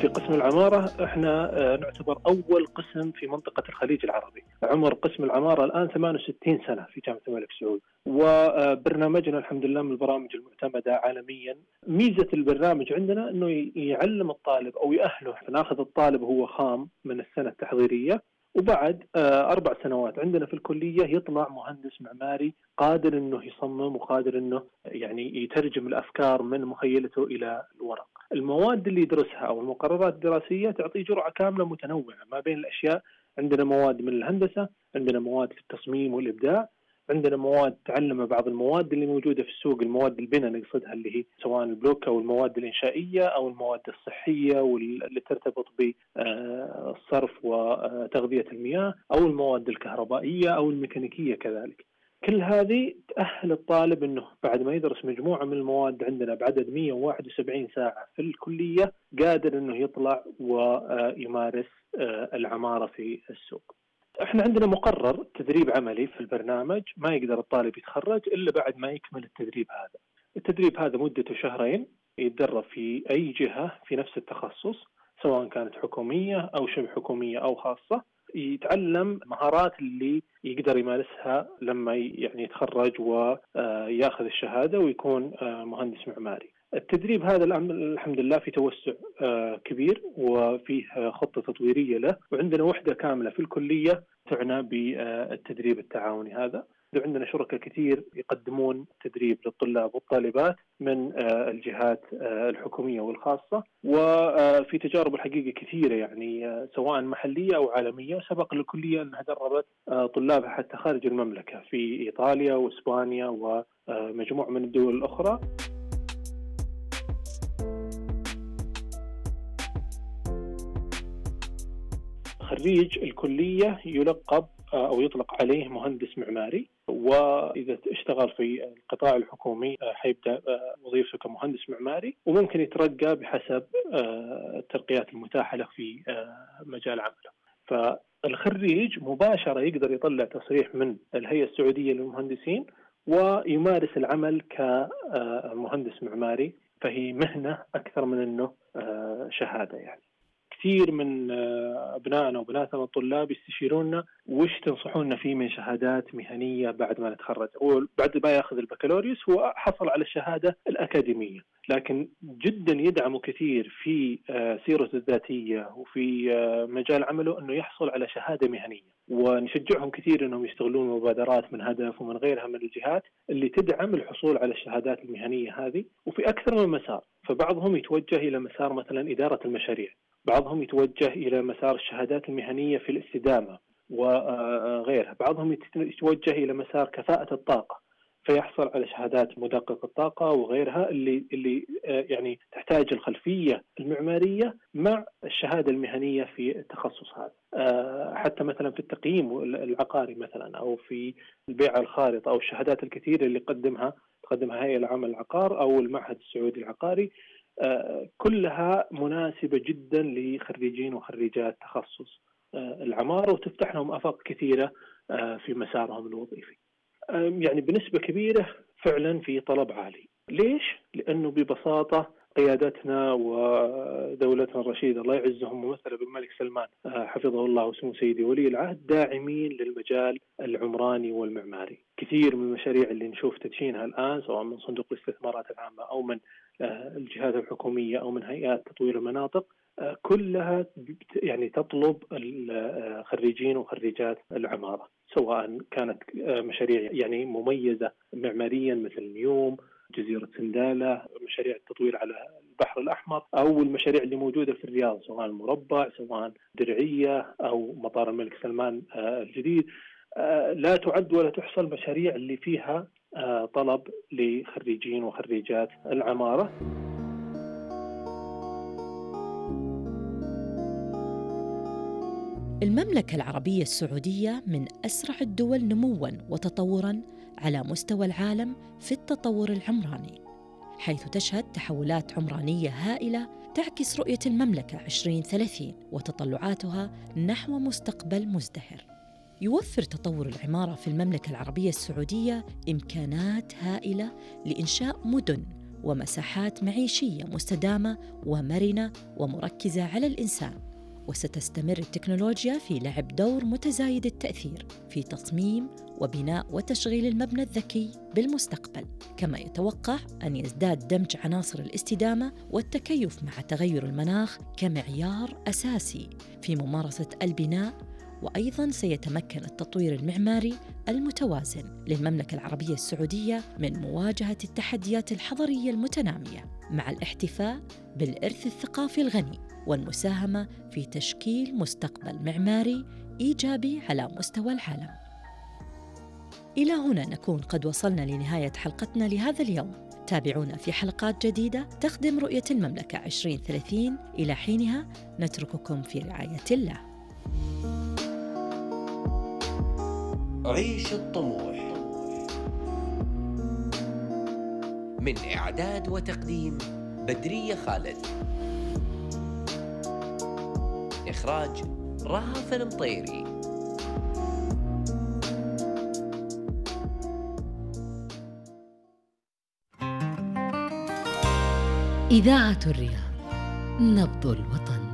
في قسم العمارة احنا نعتبر أول قسم في منطقة الخليج العربي. عمر قسم العمارة الآن 68 سنة في جامعة الملك سعود، وبرنامجنا الحمد لله من البرامج المعتمدة عالميا. ميزة البرنامج عندنا أنه يعلم الطالب أو يأهله. ناخذ الطالب هو خام من السنة التحضيرية، وبعد 4 سنوات عندنا في الكلية يطلع مهندس معماري قادر أنه يصمم وقادر أنه يعني يترجم الأفكار من مخيلته إلى الورق. المواد اللي يدرسها أو المقررات الدراسية تعطي جرعة كاملة متنوعة ما بين الأشياء. عندنا مواد من الهندسة، عندنا مواد في التصميم والإبداع، عندنا مواد تعلم بعض المواد اللي موجودة في السوق، المواد البناء نقصدها اللي هي سواء البلوك أو المواد الإنشائية أو المواد الصحية واللي ترتبط بالصرف وتغذية المياه، أو المواد الكهربائية أو الميكانيكية كذلك. كل هذه تأهل الطالب أنه بعد ما يدرس مجموعة من المواد عندنا بعدد 171 ساعة في الكلية قادر أنه يطلع ويمارس العمارة في السوق. احنا عندنا مقرر تدريب عملي في البرنامج، ما يقدر الطالب يتخرج إلا بعد ما يكمل التدريب هذا. التدريب هذا مدته 2 شهرين، يتدرب في أي جهة في نفس التخصص سواء كانت حكومية أو شبه حكومية أو خاصة، يتعلم مهارات اللي يقدر يمارسها لما يعني يتخرج وياخذ الشهادة ويكون مهندس معماري. التدريب هذا الحمد لله في توسع كبير وفيه خطة تطويرية له، وعندنا وحدة كاملة في الكلية تعنى بالتدريب التعاوني هذا. عندنا شركاء كثير يقدمون تدريب للطلاب والطالبات من الجهات الحكومية والخاصة، وفي تجارب الحقيقة كثيرة يعني سواء محلية أو عالمية. وسبق للكلية أنها دربت طلابها حتى خارج المملكة في إيطاليا وإسبانيا ومجموعة من الدول الأخرى. خريج الكلية يلقب أو يطلق عليه مهندس معماري، وإذا اشتغل في القطاع الحكومي حيبدأ وظيفته كمهندس معماري، وممكن يترقى بحسب الترقيات المتاحة له في مجال عمله. فالخريج مباشرة يقدر يطلع تصريح من الهيئة السعودية للمهندسين ويمارس العمل كمهندس معماري، فهي مهنة أكثر من أنه شهادة. يعني كثير من أبنائنا وبناتنا الطلاب يستشيروننا وش تنصحوننا فيه من شهادات مهنية بعد ما نتخرج. وبعد ما يأخذ البكالوريوس هو حصل على الشهادة الأكاديمية، لكن جدا يدعموا كثير في سيرته الذاتية وفي مجال عمله أنه يحصل على شهادة مهنية. ونشجعهم كثير أنهم يستغلون مبادرات من هدف ومن غيرها من الجهات اللي تدعم الحصول على الشهادات المهنية هذه، وفي أكثر من مسار. فبعضهم يتوجه إلى مسار مثلا إدارة المشاريع، بعضهم يتوجه إلى مسار الشهادات المهنية في الاستدامة وغيرها، بعضهم يتوجه إلى مسار كفاءة الطاقة فيحصل على شهادات مدقق الطاقة وغيرها اللي يعني تحتاج الخلفية المعمارية مع الشهادة المهنية في التخصص هذا. حتى مثلا في التقييم العقاري مثلا أو في البيع الخارطة أو الشهادات الكثيرة اللي تقدمها هيئة العمل العقار أو المعهد السعودي العقاري، كلها مناسبة جدا لخريجين وخريجات تخصص العمارة، وتفتح لهم آفاق كثيرة في مسارهم الوظيفي. يعني بنسبة كبيرة فعلا في طلب عالي. ليش؟ لأنه ببساطة قيادتنا ودولتنا الرشيدة الله يعزهم ممثلة بالملك سلمان حفظه الله وسمو سيدي ولي العهد داعمين للمجال العمراني والمعماري. كثير من المشاريع اللي نشوف تدشينها الآن سواء من صندوق الاستثمارات العامة أو من الجهات الحكومية أو من هيئات تطوير المناطق كلها يعني تطلب الخريجين وخريجات العمارة، سواء كانت مشاريع يعني مميزة معماريا مثل نيوم، جزيرة سندالة، مشاريع التطوير على البحر الأحمر، أو المشاريع اللي موجودة في الرياض سواء المربع سواء درعية أو مطار الملك سلمان الجديد. لا تعد ولا تحصى المشاريع اللي فيها طلب لخريجين وخريجات العمارة. المملكة العربية السعودية من أسرع الدول نمواً وتطوراً على مستوى العالم في التطور العمراني، حيث تشهد تحولات عمرانية هائلة تعكس رؤية المملكة 2030 وتطلعاتها نحو مستقبل مزدهر. يوفر تطور العمارة في المملكة العربية السعودية إمكانات هائلة لإنشاء مدن ومساحات معيشية مستدامة ومرنة ومركزة على الإنسان. وستستمر التكنولوجيا في لعب دور متزايد التأثير في تصميم وبناء وتشغيل المبنى الذكي بالمستقبل، كما يتوقع أن يزداد دمج عناصر الاستدامة والتكيف مع تغير المناخ كمعيار أساسي في ممارسة البناء. وأيضاً سيتمكن التطوير المعماري المتوازن للمملكة العربية السعودية من مواجهة التحديات الحضرية المتنامية، مع الاحتفاء بالإرث الثقافي الغني والمساهمة في تشكيل مستقبل معماري إيجابي على مستوى العالم. إلى هنا نكون قد وصلنا لنهاية حلقتنا لهذا اليوم. تابعونا في حلقات جديدة تخدم رؤية المملكة 2030. إلى حينها نترككم في رعاية الله. عيش الطموح، من إعداد وتقديم بدرية خالد، إخراج رهف المطيري. إذاعة الرياض، نبض الوطن.